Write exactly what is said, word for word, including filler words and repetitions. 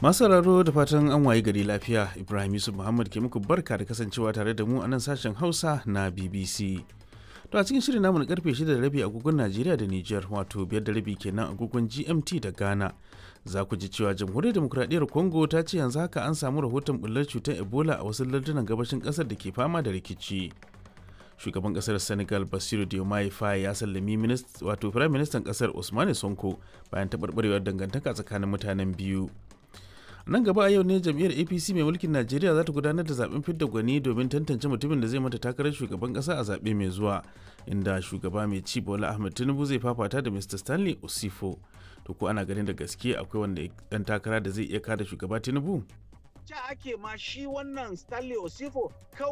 Masu sauraro, da fatan an waye gari lafiya. Ibrahim Yusuf Muhammad ke muku barka da kasancewa tare da mu a nan sashen Hausa na B B C. To, a cikin shirin namu na karfe shida da rabi agogon Najeriya da Nijar, wato biyar da rabi kenan agogon G M T da Ghana, za ku ji cewa Jamhuriyar Demokuraɗiyyar Congo ta ce yanzu haka an samu rahoton bullar cutar Ebola a wasu lardunan gabashin ƙasar da ke fama da rikici. Shugaban kasar Senegal Bassirou Diomaye Faye ya sallami wato Firayim Ministan kasar Ousmane Sonko bayan taɓarɓarewar dangantaka tsakanin mutanen biyu. Nan gaba a yau ne jam'iyyar A P C mai mulkin Najeriya za ta gudanar da zaben fidda gwani domin tantance mutumin da zai mata takarar shugaban kasa a zaɓe mai zuwa, inda shugaba mai ci Bola Ahmed Tinubu zai fafata da Mister Stanley Osifo. To, ko ana ganin da gaske akwai wanda dan takara da zai iya kada shugaba Tinubu? Ca ake ma shi wannan Stanley Osifo kawai